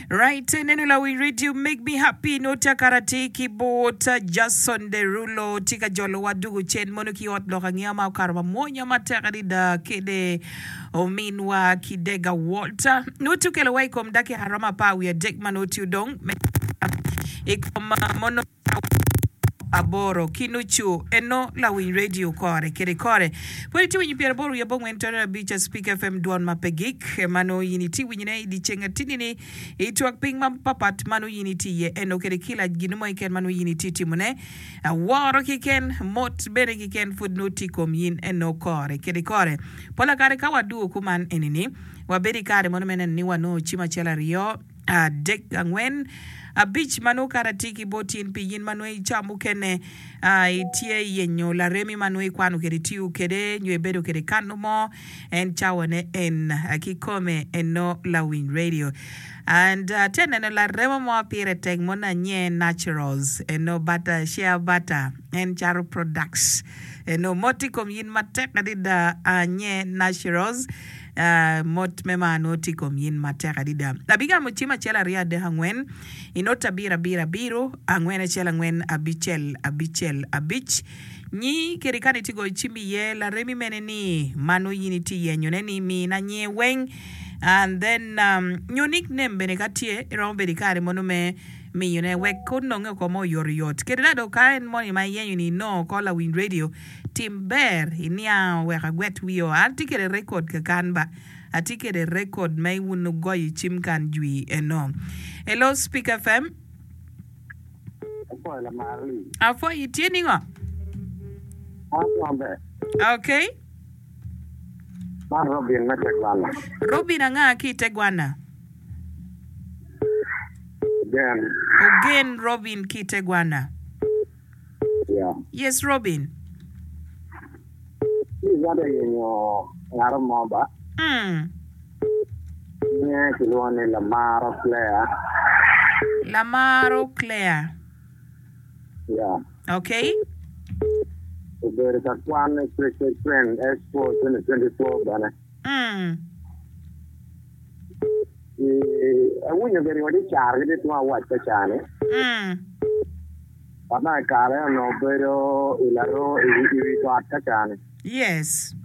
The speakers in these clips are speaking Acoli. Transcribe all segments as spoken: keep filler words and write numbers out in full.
Right, neno lawiny radio make me happy nongo tye akara atir ki bot Jason Derulo tye ka jolowa dugo cen mono ki ot lok angeya ma okato mamwonya matek adada kede ominwa ki Dega Walter nongo tye okelowa i kom dakika romo apar wiye adek ma nongo tye odong me i kom mono aboro ki nucu eno lawiny radio kore kede kore pud itye winyo pyeraboro wiye abongwen tone abic Speak FM dwon ma pe gik ma nongo in itye winyone i dyeceng atini-ni i twak piny mapapat ma nongo in itye iye eno kede kila gin mo keken ma nongo in itye timone woro keken mot bene keken pud nongo tye i kom in eno kore kede kore pola kare ka wadwogo kuman enini wabedo i kare mono me neno ni wanongo cim acel aryo adek angwen abic ma nongo kare atye ki bot in pi in ma nongo i ca mukene itye yenyo laremi ma nongo ikwano kwede itiyo kwede nyo ibedo kwede kano mo en cawane en kikome eno lawiny radio and atye neno larema mo pire tek mono anye naturals eno butter shea butter en cato products eno mot i kom yin matek adada anye naturals mot me mar nongo tye i kom yin matek adada. Abigamo cim acel aryo adek angwen i not abiro abiro abiro angwen acel angwen abicel abicel abic nyi kede kany itye goyo cim iye laremi mene ni ma nongo yin itye yenyone ni mina nyinge weng and then nyo nickname bene ka tye iromo bedo i kare mono me miyone wek ononge oko mo oyotoyot kede dok ka en moni ma iyenyo ni inongo oko lawiny radio Tim ber iniango wek agwet wiyo. An atye kede record kakan ba. Atye kede record ma wun wugoyo i cim kan jwi eno. Hello Speak FM. Apwoyo lamar li. Apwoyo itye ningo? An maber. Okay. Man Robin me Tegwana. Robin anga ki i Tegwana? Ogen. Ogen Robin ki i Tegwana. Yeah. Yes Robin. Ci ibade yenyo ngat mo ba. Mm. Nyinge kilwongo ni Lamaro Claire. Lamaro Claire. Yeah. Okay. Obedo ka kwan i Christian Train S four twenty twenty four bene. Mm. Ci awinyo bene wa ci caro gitye tung awac ka cani. Mm. Ma i kare onongo bedo i laro i wi got ka cani. Yes.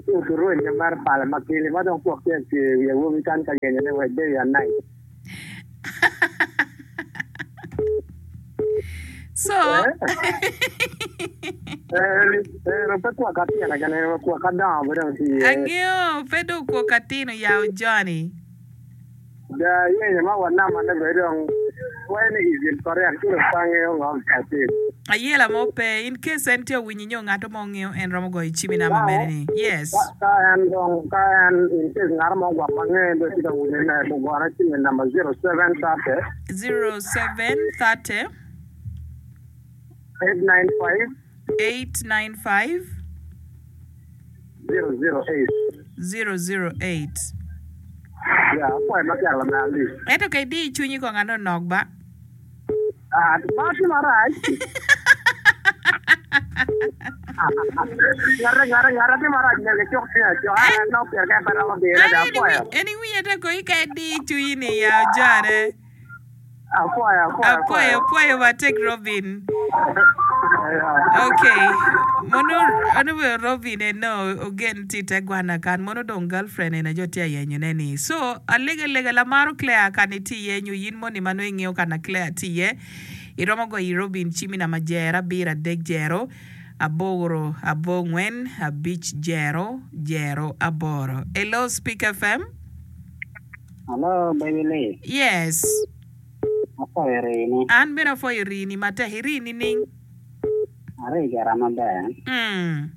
Ci oturwenye mere pala ma kili ma dong gwok tye acwe i wi awobi kany ka yenyo ni wek day and night. So. Ero pe kwok atino kene, kwok adongo bene dong tye iye. Angeyo pe dong kwok atino ya Johnny. Da yenyo ma wanamane bene dong wayo ni is incorrect ci dong pe angeyo ngo me atim. Ayela mo pe, in case en tye owinyi nyo ngato mo ngeyo en romo goyo cim i namba mere ni. Yes. Ka en dong ka en in case ngato mo gwok ma ngeye bene tye ka winyo ne gugone cim i namba zero seven thirty. Zero seven thirty. Eight nine five. Eight nine five. Zero zero eight. Zero zero eight. Ya, apwoyo matek lamera Lee. Ento ka idiyo cwinyi kong ano nok ba. Ah, ma tye marac. Ngate, ngate, ngate tye marac myero kicuk cwinye acoka, en nongo pire kene pe romo dire dong apwoyo. En iwinyo ata kong ka idiyo cwinyi ni ya ojone. Apwoyo, apwoyo, Apwoyo, apwoyo matek Robin. Okay. Mono ono obedo Robin eno ogen tye ite gwana kan mono dong girlfriend ene jo tye ayenyo ne ni. So alega lega lamaro Claire kan itye iye nyo yin moni ma nongo ingeyo kana Claire tye iye iromo goyo i Robin cim i namba jero abiro adek jero aboro abongwen abic jero jero aboro. Hello Speak FM. Hello baby Lee. Yes. Apwoyo rini. An bene apwoyo rini matek. Iri nining? Ari gira maber. Mm.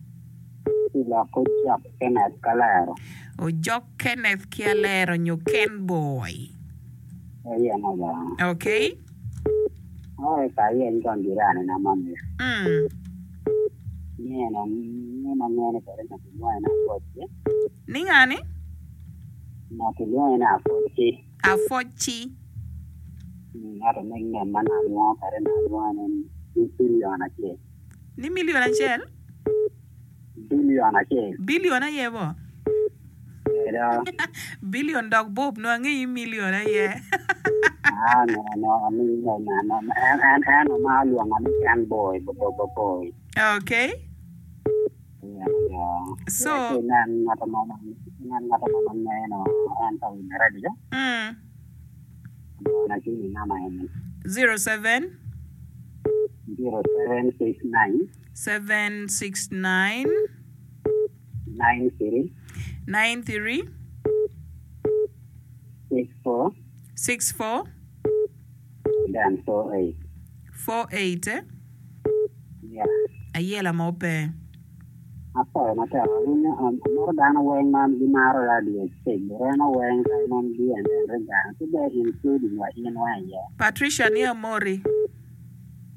Ci lok Ojok Kenneth ki Alero. Ojok Kenneth ki Alero nyo Ken Boy. Aye no ba. Okay. Oi ka ayeny kong jirani na moni. Mm. Nino ni ma ngene kwede nyo kilwonge ni Apwoci. Ni ngani? Nyo kilwonge ni Apwoci. Apwoci. Ento nickname ma nalwongo kwede nalwonge ni bilion acel. Ni million acel? Bilion acel. Bilion aye bo? Do. Billion dok bob no angeyi million aye. Ah, no, no, no, no, no, no. En, en, en ma luonga ni Ken Boy, bo, bo, bo, boy. Okay. Yeah, yeah. So, Nen ng'ato mo ma, nen ng'ato mo ma ng'eyo en to winyo radio. mm, Na kini nama en. zero seven Zero seven six nine seven six nine nine three nine three six four six four then four eight. four eight. Eh? Yeah. Ayela mo pe. Apoyo matek awinyo amoro dano weng ma gimaro radio stage reno weng Simon B and then Regan ki be including wa in wa iye. Patricia ni amori.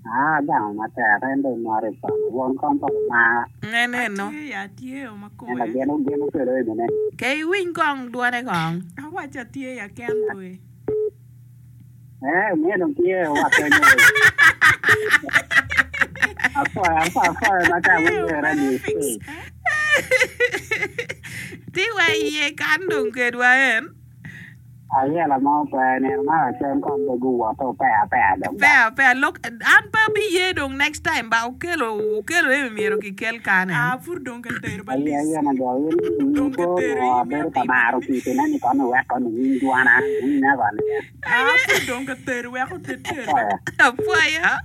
Ah, gamo matek en dong moro i kono won kom pa ma Nene no. Atye ya atye o en makoe. ageno geno kelo e mene. Ke iwiny kong dwone kong. Awacho atye ya Ken Boy. Eh, miyo dong tye wa kenyo. Apoyo apoyo apoyo matek winyo radio stage. Ti wa iye kan dong kedwa en. Ayela mo pe nino ma lacen kom be guwoto pea pea dong ba. Pea pea lok an pe abi ye dong next time ba okelo okelo e myero kikel kan en. Ah, pur dong katero ba Aye lis. aye na do in in Dong ko katero no in miyo abedo ka timo maro ni. kite ni kono wek kono winy dwana winya kono ya. Ah, pur dong katero weko tetero. Apoyo. Apoyo.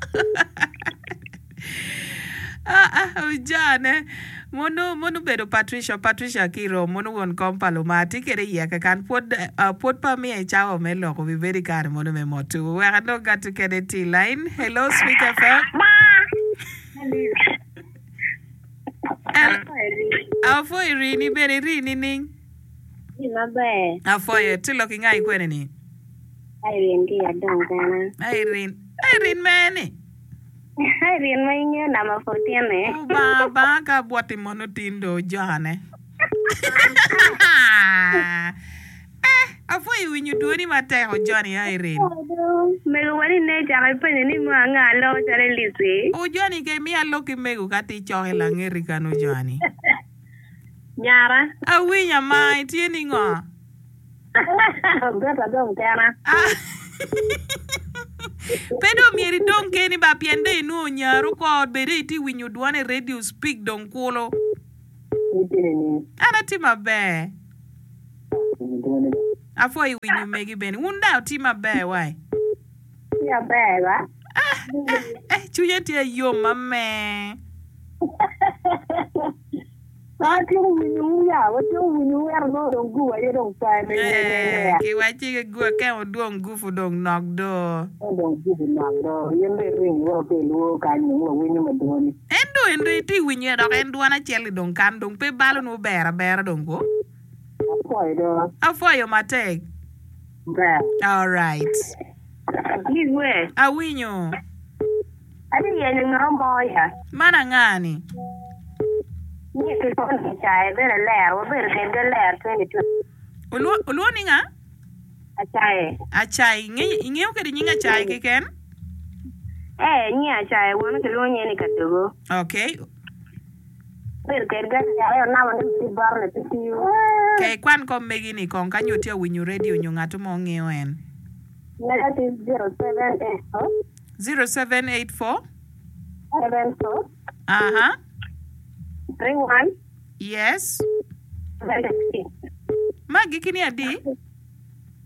Ah, ah, ojane. Mono mono bedo Patricia Patricia Kiro mono won kom pa luma tye kede iye kakan pwod uh, pwod pa miye cawa me loko wi bedo i kare mono me motu wek anong gatu kede ti line hello Sweet F M El afoyo rini bene rini ning Maber, afoyo ti lok inga ikwene ni Irene ki adong kena. Irene Irene mene Irene ma ing'eyo namba fourteen eh. Ubanga banga ka bwoti mono tindo jane eh afoyo winyo dwoni matek ojoni Irene Mego wani ne chako ipenjo ni mo ang'a lo chalo Lizzy. Ojoni ke miya lok ki mego ka ti choke langeri kan ojoni Nyara. Awinya ma itye ni ngo Bet adong kena. Ah. Pe dong myero idong keni ba pien dong inwongo nyaru ko bede iti winyo dwon i radio speak dong kulo. An atye maber. Apwoyo winyo megi bene. Wun da wutye maber wai. Tye aber ba. Ah, eh, eh, cwinya tye yom ame. Watye winyo ya, watye winyo wero no dong gu aye dong pe me me me Eh, kiwaci ki gu akemo dwong gufu dong nok do. dong gu nok do. Yen be ring wo ke luo kanyo wo winyo madwoni. En do en do iti winyo dok en dwon acel dong kan dong pe balo nu ber abera dong ko. Apwoyo do. Apwoyo matek. Ber. All right. Lizwe. Awinyo. Ati yenyo ng'o moya. Man angani? Ni kiloni chae bere ler, wabedo kedgi ler twenty two. Oluo oluo ni ng'a? Achae. Achai. Ing'eyo ing'eyo kede nying achai keken? Eh, nyi achae wan kiluongo nye ni Kadogo. Okay. Bedo kedgi achae onamo ni ti borne ti tiyo. Ke kwan kom megi ni kong ka nyo tye winyo radio nyo ng'ato mo ng'iyo en. Negative zero seven eight four zero seven eight four seven four Aha. three one Yes. seventy six. Magi kini adi?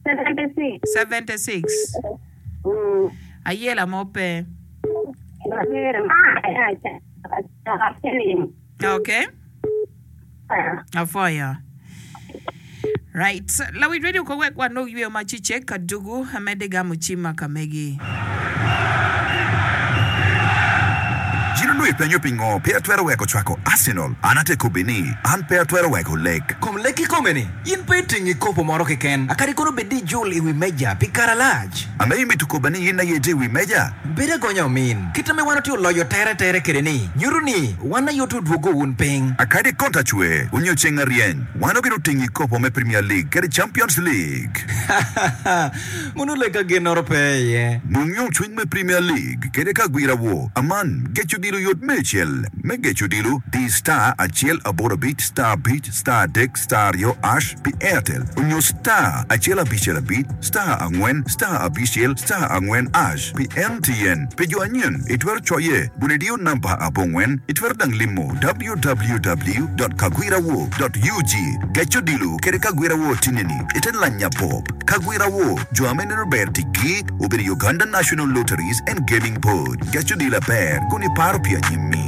Seventy six. seventy six. Mm. Ayela mo pe. Okay. Afoya. Right. Lawi radio ko wek wan nog yweyo machiche kadugu amede gamo chima kamegi. Jiro nui penyo pingo pe atwero weko chwako Arsenal. An ate kobini an pe atwero weko lek. Kom lek ikome-ni, in pe itingi kopo moro keken. Akadi kono bed ni ijul i wi meja pi kare alac. Ame imito kobani in aye ite i wi meja? Bed agonya omin. Kite me wan otye oloyo tere tere kede ni, nyuto ni wan aye ote odwogo wun piny. Akadi konta chwe, onyo ceng aryeny. Wan obino tingi kopo me Premier League kede Champions League. Mono lek ka ginoro pe iye. Nung yomcwiny me Premier League kede ka gwira wo. Aman, geco dilo Oyot me acel me geco odilo di star acel aboro abic star abic star adek star aryo hash pi Airtel onyo star acel abicel abic star angwen star abicel star angwen hash pi M T N. Pi jo anyen itwero coye kun idiyo namba abongwen. Itwero dang limo W W W dot kagwirawo dot U G. Geco odilo kede Kagwirawo tineni ite lanya pop Kagwirawo jo ame neno ber tiggi obedo Uganda National Lotteries and Gaming Board. Geco odilo aber kun iparo pi anyimmi.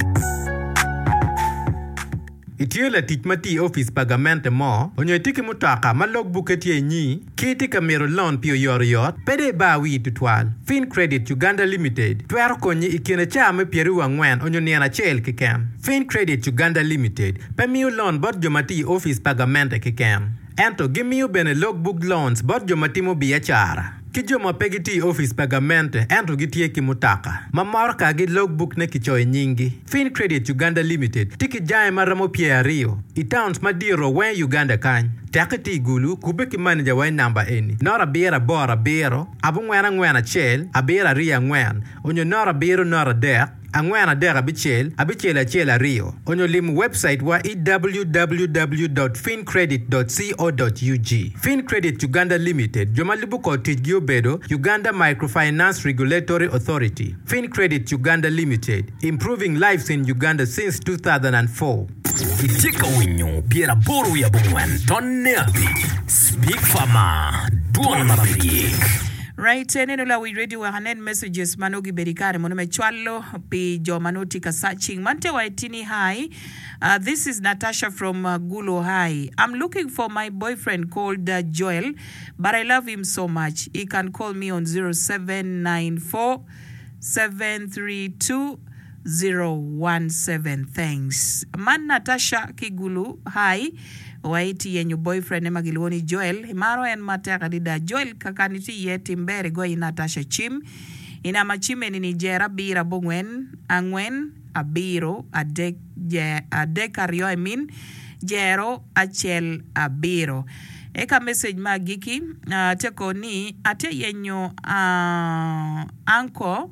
Itye latic ma tye i opic pa gamente mo onyo itye ki mutoka ma logbukke tye inyi ki itye ka mito loan pi oyotoyot pe dong ibar wii tutwal. Fin Credit Uganda Limited twero konyi i kine caa me pyeraryo angwen onyo nino acel keken. Fin Credit Uganda Limited pe miyo loan bot jo ma tye i opic pa gamente keken, ento gimiyo bene logbook loans bot jo ma timo biacara ki jo ma pe gitye i opic pa gamente ento gitye ki mutoka ma motokagi logbook ne kicoyo i nyinggi. Fin Credit Uganda Limited tye ki jange ma romo pyeraryo i towns madito weng i Uganda kany. Tekki tye i Gulu, kubbe ki manager wa i namba eni: noto abiro aboro abiro abongwen angwen acel abiro aryo angwen onyo noto abiro noto adek angwen adek abicel abicel acel aryo onyo limo website wa i W W W dot fincredit dot co dot U G. Fin Credit Uganda Limited jo ma lubo kor ticgi obedo Uganda Microfinance Regulatory Authority. Fin Credit Uganda Limited, improving lives in Uganda since two thousand four. Itye ka winyo pyeraboro wiye abongwen tonne abic Speak Farmer, dwon ma pe yik. Right, eneno lawiny radio wek anen messages ma nongo gibedo i kare mono me cwalo pi jo ma nongo tye ka searching. Man te wa itini hi. Uh, this is Natasha from uh, Gulu High. I'm looking for my boyfriend called uh, Joel, but I love him so much. He can call me on zero seven nine four seven three two zero one seven. Thanks. Man Natasha ki Gulu High. Waiti yenyo boyfriend ema gilwongo ni Joel. Imaro en matek adada. Joel kakani tye iye timber igoyo i Natasha cim. I namba cim eni ni jero abiro abongwen angwen abiro adek je adek aryo I mean jero acel abiro. Eka message ma agiki uh, tye ko ni atye yenyo uh, uncle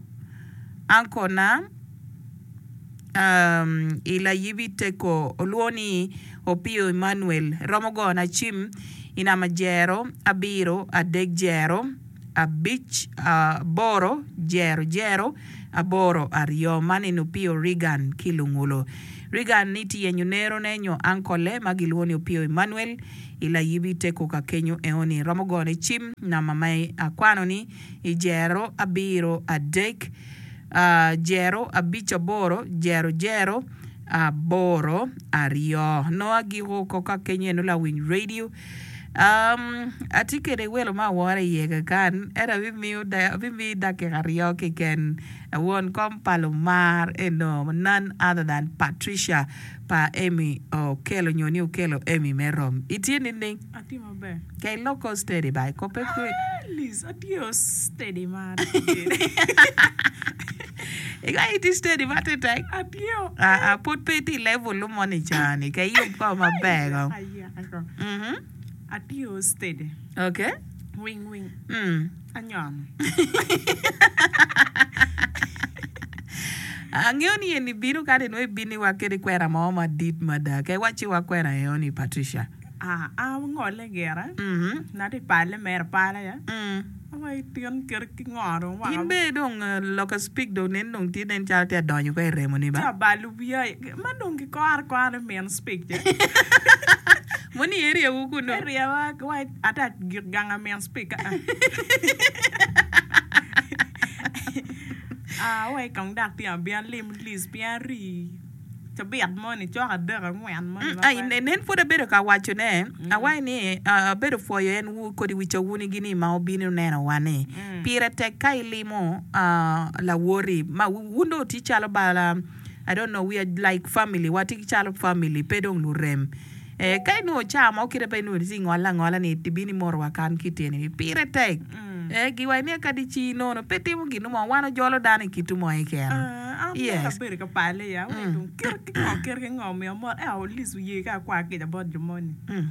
uncle na um, i layibi teko olwongo ni Opio Emmanuel romo gona cim i namba jero abiro adek jero abic aboro jero jero aboro aryo. Man en Opio Regan ki Lungulo Regan ni tye yenyo nerone nyo uncle ma gilwongo ni Opio Emmanuel i layibi teko ka kenyo eoni romo gone cim namba ma akwano ni i jero abiro adek uh, jero abic aboro jero jero aboro aryo. No agiko ko ka kenyo eno lawiny radio um, atye kede welo ma awora iye kakan ento abimiyo da- abimiyi dakika aryo keken. Won kom pa lumar eno none other than Patricia pa Emmy Okelo nyo ni Okelo Emmy me rom itye nining? Atye maber. Kay loko steady ba kope kwe. Liz, atye steady ma Ika iti steady ma tetek. Atye. Ah, ah, pud pe iti level moni cani kay yub ko maber ko. Ayaka ko. Mhm. Atye steady. Okay. Wing wing. Mm. Anyono. Angeyo ni en ibino kadi nongo ibino wa kede kwena mo madit mada ke wacci wa kwena eoni Patricia. Ah, ah, ngole gira. Mhm. Nati pale mere pala ya. Mm. Awa tyen kir ki ngoro wanga. In be dong uh, loka speak dong nen dong tye nen calo tye adonyo ko i remo ni Tye ba. abalo wiya. Ma dong ki kore kore min speak je. Moni area wu kuno. Area wa wa ata gik ganga min speak. Ah. Ah, wa kong dak tye abia lim Liz pien ri. Cabit moni cok adek angwen moni. Mm, ai, ne- nen pud abedo ka waco ne awai ni uh, abedo pwoyo en wu kodi wica wuni gini ma obino neno wa ni pire tek ka ilimo uh, lawoti ma wun dong tye calo bala. I don't know, we are like family, watye calo family pe dong lurem eh, ka inwongo ca mo kite pe inwongo tye ingolo angola ni tibino imorowa kan ki tyeni ni pire tek eh, giwaco ni kadi ci nono pe timo gin mo wan ojolo dano i kitu mo keken. An Yes. abedo ka pale ya. Wa dong kir ki ngo kir ki ngo miyo mot. Eh, Liz oye ka akwa kica bot jo moni. Mm.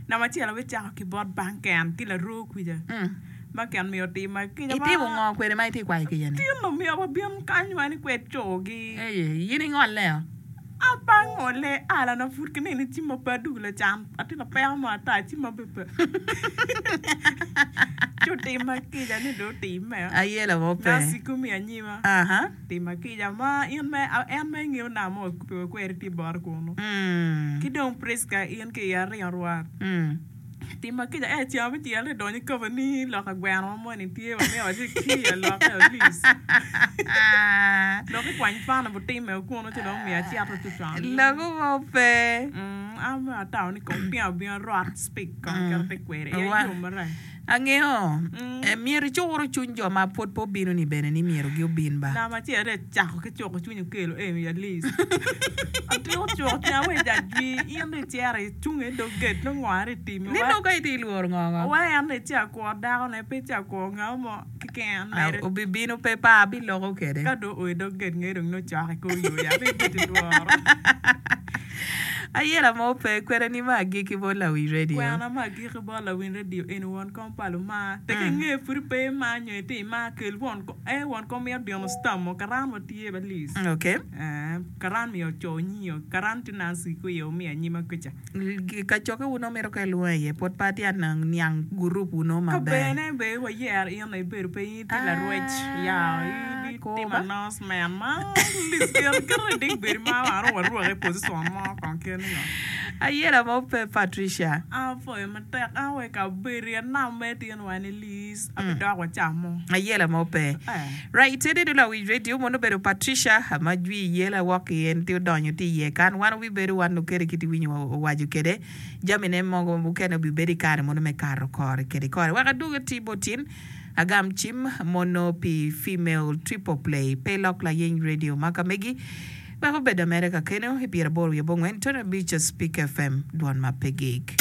Namba acel abicako ki bot banken ki laroo kwija. Mm. Ma ken miyo tima kica ma. Itimo ngo kwede ma itye kwayo kica ni? Tino miyo wa bin kany wa ni kwed cogi. Eye, in ingolle o? An pe angole, ala na pud ki nini cimma pe adugo lacan, atye ka peko mo ata cimma be pe. Ci otima kica ni dong otimme. Ayela mo pe. Naciko mi anyima. Aha. Tima kica ma in me en ma ingeyo namba ma wakubbe wa kwede tye bote kunu. Ki dong Prisca in ki iya ringo rwat. Tima kica ee ceng abicel ni donyo i kaba ni loka gweno moni tye wa myero waci ki aloke Alice. Dok ikwany pana butime kunu ci dong omiyo acito ci cwalo. Loko mo pe. Mm, an bene atamo ni kong tinga obino rot speak kong kit atye kwede. Iya yom marac. Angeyo, myero icur cwiny jo ma pwod pe obino-ni bene ni myero giobin ba. Namba acel aye cako ki cuko cwiny okelo eni Alice. Atiko cuko cwinya wa i jwi in dong icito icung i dog gate nongo ngo aye itimo. Ni nongo ka itye lworo ngo ngo? Wa en dong ice akwo dakone pe ice akwo nga mo keken mere. Obibino pe pa abiloko kwede. Ka dong oo i dog gate nge dong nongo cok i kor yo ya pe ibed lworo. Ayela mo pe kwena ni me agikki bot lawiny radio. Kwena me agikki bot lawiny radio eni won kom pa lumar. Tek inge pud pe imar nyo itye imar kel won kom ee won kom mito dino stam mo karan wa tye ba Liz. Okay. Ee karan miyo oco nyingo karan tye Nancy kwiyo omiyo anyima kuca. Kacokke wu nongo mito ka ilwongo iye pwod pe atye anang niang gurup wu nongo maber. Kabene be wayero in ibedo pe in itye larwec ya ibitimo announcement ma Liz kit kit idik bedo ma wan dong warwaki i position mo kong kit ni ngo. Ayela mo pe Patricia. Apwoyo matek an wa i kabedo anam mere tin wa ni Liz abidok wa camo. Ayela mo pe. Right ene dong lawiny radio mono obedo Patricia ma jwi yela wok ki en tye odonyo tye iye kan wan obibedo wan okede kit iwinyo owaco kede jami ne mogo mukene obibedo ikare mono me kato kore kede kore wek adwogi oti bot in agam cim mono pi female triple play pe lok layeny radio ma ka megi wek obed ameda kakeno i pyeraboro wiye abongwen tone abic Spik FM dwon ma pe gik.